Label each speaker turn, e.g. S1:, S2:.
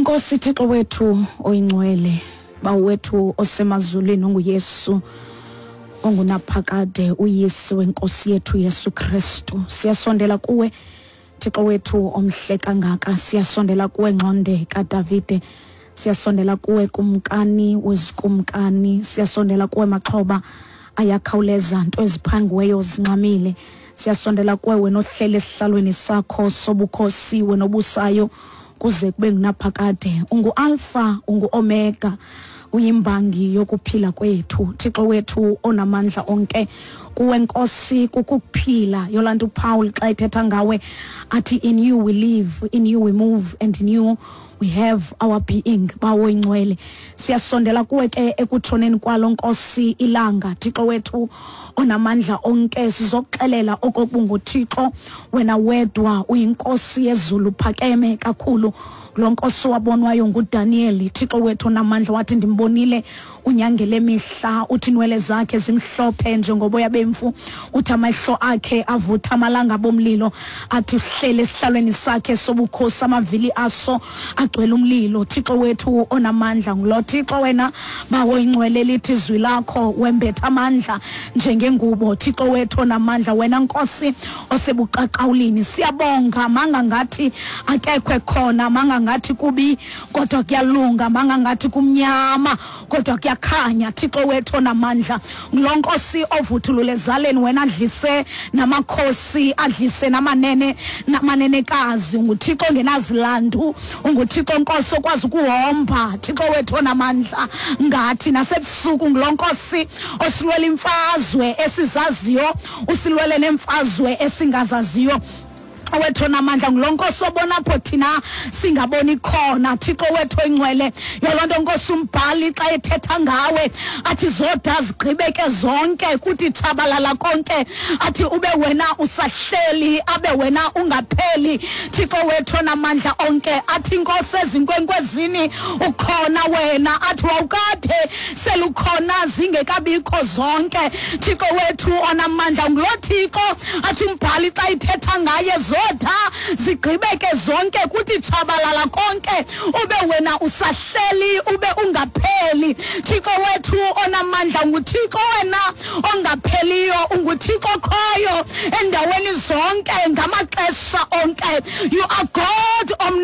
S1: Enkosi Thixo wethu oyingcwele, Bawo wethu osemazulwini onguYesu ongunaphakade uYise wenkosi yethu Yesu Kristu. Siyasondela kuwe Thixo wethu omhle kangaka, siyasondela kuwe ngxonde kaDavide. Siyasondela kuwe kumkani wezikumkani, siyasondela kuwe maxhoba ayakhawuleza nto eziphangiweyo zinxamile. Siyasondela kuwe wena ohlele esihlalweni sakho sobukhosi wena obusayo kuze kube ngunaphakade. Ungu-Alfa, ungu-Omega, uyimbangi yokuphila kwethu. Thixo wethu onamandla onke, kuwe Nkosi kukuphila. Yolaa nto uPaul xa ethetha ngawe athi in you we live, in you we move and in you we have our being. Bawo ingcwele, siyasondela kuwe ke ekutshoneni kwalo Nkosi ilanga. Thixo wethu onamandla onke, sizokuxelela okokuba unguThixo wena wedwa, uyinkosi yezulu, phakeme kakhulu. Lo nkosi wabonwayo nguDaniyeli, Thixo wethu onamandla, wathi ndimbonile unyangele mihla, uthi inwele zakhe zimhlophe njengoboya bemfu, uthi amehlo akhe avutha amalanga bomlilo, athi uhlele esihlalweni sakhe sobukhosi, amavili aso agcwele umlilo. Thixo wethu onamandla, ngulo Thixo wena Bawo ingcwele, lithi izwi lakho wembetha amandla njengengubo. Thixo wethu onamandla, wena Nkosi osebuqaqawulini, siyabonga. Manga ngathi akekho ekhona, manga ngathi kubi kodwa kuyalunga, manga ngathi kumnyama kodwa kuyakhanya. Thixo wethu onamandla, ngulo Nkosi ovuthulule ezaleni, wena adlise namakhosi, adlise namanene namanenekazi. UnguThixo ongenazilandu, unguThixo Nkosi okwazi ukuhomba. Thixo wethu onamandla, ngathi nasebusuku ngulo Nkosi osilwela imfazwe esizaziyo, usilwele neemfazwe esingazaziyo. Wethu onamandla, ngulo Nkosi obona apho thina singaboni khona. Thixo wethu oyingcwele, yoloo nto Nkosi umbhali xa ethetha ngawe athi zoda zigqibeke zonke, kuthi tshabalala konke, athi ube wena usahleli, abe wena ungapheli. Thixo wethu onamandla onke, athi Nkosi ezinkwenkwezini ukhona wena, athi wawukade selukhona zingekabikho zonke. Thixo wethu onamandla, ngulo Thixo athi umbhali xa ithetha ngaye zotha zigqibeke zonke, kuthi tshabalala konke, ube wena usahleli, ube ungapheli. Thixo wethu onamandla, nguThixo wena ongapheliyo, unguThixo okhoyo endaweni zonke ngamaxesha onke. You are God omni.